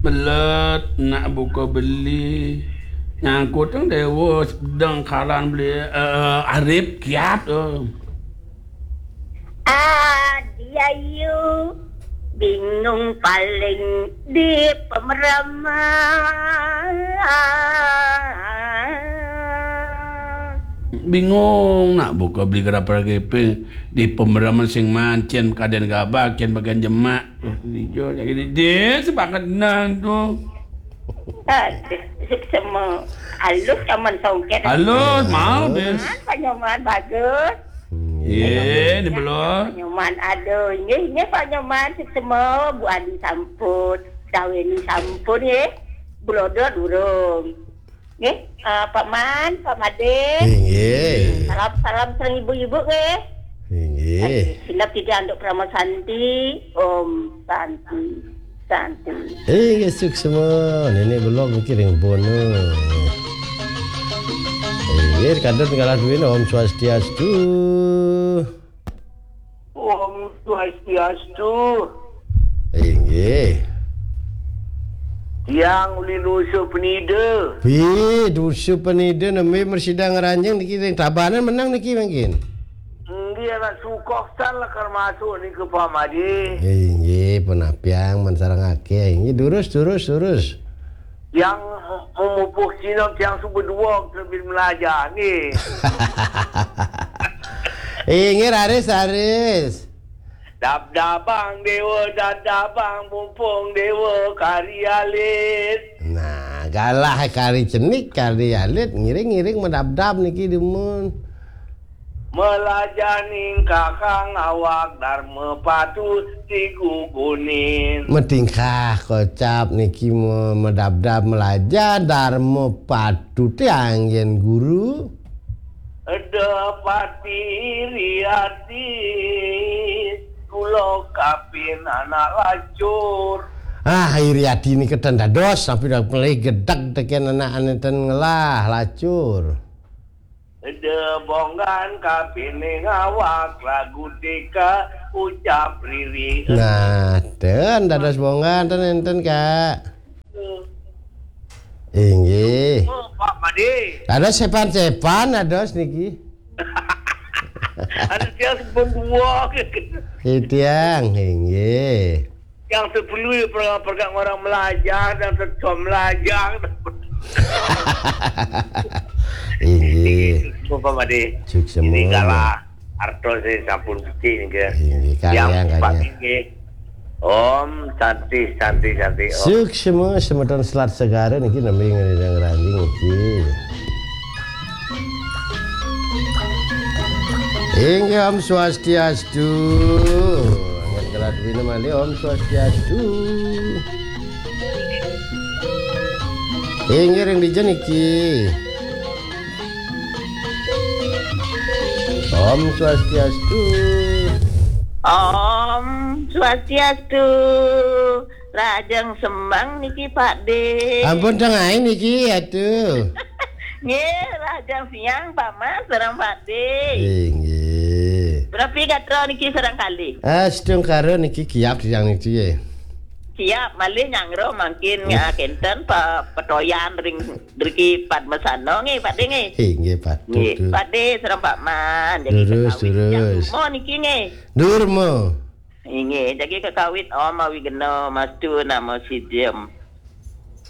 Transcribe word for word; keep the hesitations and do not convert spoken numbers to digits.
Belet nak buka beli. Nyangkut tang dewa sedang kalan beli, eh, arip kiat, eh. Adi ayu bingung paling di pemeraman. Bingung nak buka beli gerapa gepe di pemeraman sing mancen kaden gabah ken bagian jemak. Ijo jadi dia sepakat nang tu. Aduh, semua halus aman songket. Halus, mau, Bes. Panyoman bagus. Ye, ni belum. Panyoman, aduh, ini, ini panyoman semua Bu Adi sampun, Daweni sampun, ye. Blodo durung. Nggih, eh, Pak Man, Pak Made. Inggih. Salam, salam sareng ibu-ibu, nggih. Inggih. Sinep tidak untuk Parama Santi. Om Santi, Santi. Inggih, suksma. Nenek belum mikirin bono. Inggih, kadang kalah duit, Om Swastiastu. Om Swastiastu. Inggih. Tiang uli nusu penida. Pi, nusu penida nembe mersida ngranjing niki ring Tabanan menang niki mangkin. Nggih, anak sukoh san lakar masuk niki, Pak Made. Inggih, penapiang men sareng akeh. Inggih, durus, durus, durus. Tiang memupuh Cina, tiang suba dua terlebih melajah nggih. Inggih, raris, raris. Dab-dabang dewa, dab-dabang mumpung dewa kari alit. Nah, galah kari cenik, kari alit, ngiring-ngiring medabdab niki dumun. Melajah ningkahang awak Dharma patut digugunin. Metingkah kocap niki me-, medabdab melajah Dharma patute anggen guru. Eda pati iri ati, kula kapin anak lacur. Ah, iri ati nika ten dados, sampai dah pelih gedeg teken anak ane ten ngelah lacur. Eda bonggan kapine ngawak lagu tika ucap riri. Nah, ten dados bonggan ten enten, Kak. Inggih. Oh, Pak Made. Ada sepan-sepan, ada niki. Ada tiang sampun dua. Itiang, inggih. Yang sepuluh ya, perkara-perkara orang melajah dan setua melajah. Inggih. Pak Made. Sukses. Ini kalah. Artos sing sampun becik nggih. Inggih, yang kalian, Pak kalian. Nggih. Om Santi, Santi, Santi, Om. Suksma semeton Selat Segara niki nembe ngene ngranding niki. Inggih, Om Swastiastu. Angkat kelas bina mandi, Om Swastiastu. Inggih, ring dija niki. Om Swastiastu. Om Swastiastu. Lajeng semeng niki, Pak De. Ampun, tengai niki, atu. Nggih, lajeng siang, Pak Mas, sareng Pak De. Inggih. Berapa gatra niki sareng kali? Ah, sedeng karo niki kiap siang niki, ya. Kiap, malih nyangro mangkin, ya, kenten pe-, petoyan ring Driki Padmasana nggih, Pak De nggih. Inggih, Pak. Nggih, Pak De sareng Pak Man. Jagi terus, kekawit terus. Durma niki nggih. Durma. Inggih, jagi kekawit Om Awighnam Astu Namo Sidham.